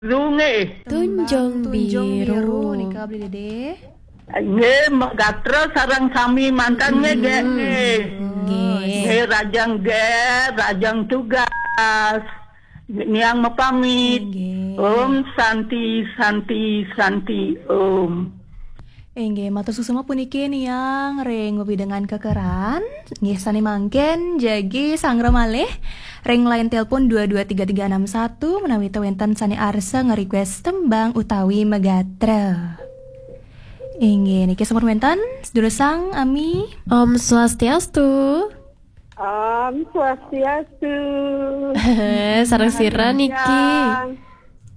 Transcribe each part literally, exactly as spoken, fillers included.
Biru nggih. Tunjung Tunjung Biru. Biru nika Beli Dede. Nggih, Megatra sareng sami mantan nggih nggih. Nggih. Nggih, Rajang Ger, Rajang Tugas. Niang mapamit. Nggih. Om Santi, Santi, Santi, Om. Inggih, matur suksma puniki Niang ring wewidangan kekeran. Nggih, sane mangkin jagi sangra malih ring line telepon dua dua tiga tiga enam satu menawi ta wenten sane arsa nge-request tembang utawi megatra. Inggih, niki sampun wenten sedulur Sang Ami. Om Swastiastu. Om Swastiastu. Sareng sira niki. Siang.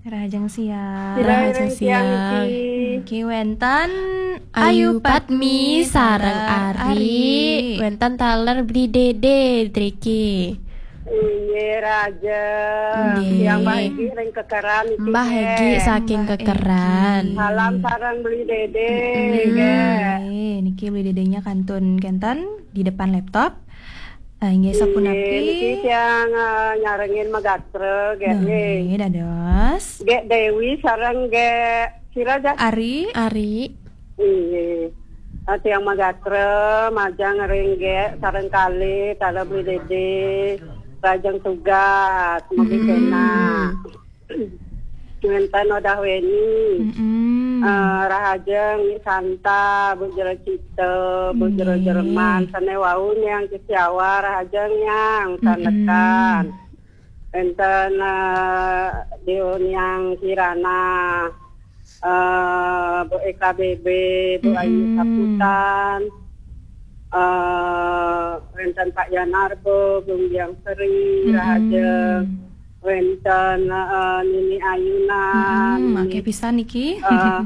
Rahajeng siang. Sira Rahajeng ring siang siang. niki. Niki wenten Ayu Patmi sareng Ari. Wenten taler Beli Dede driki. Inggih, Raja. Nggih. Siang Mbah Egi ring kekeran niki, Mbah nggih. Egi saking kekeran. Salam sareng Beli Dede, Nggih, niki Beli Dedenya kantun kenten di depan laptop. Ah, inggih, sapunapi? Nggih, niki tiang eh, nyarengin megatra, nggih. Nggih, dados. Nggih Dewi sareng nggih sira, Jas? Ari. Ari. Inggih. Ah, tiang megatra majeng ring nggih sareng kalih, taler Beli Dede, Rajeng Tugas, mugi kenak. Wenten Odah Weni. Mm-mm. Eh, Rahajeng Ni Santa, Bu Jero Cita, Bu Jero Nggih. Jerman, sane wau Niang Kisiawa, Rahajeng Niang, sanekan. Wenten eh, Dio Niang Kirana, eh, Bu E K B B, Bu Ayu Mm-mm. Saputan, eh, wenten Pak Yanarbo, Bung Biang Seri, Mm-mm. Rahajeng, wenten eh, Nini Ayunan, Mm-mm, Nini akeh pisan niki. eh,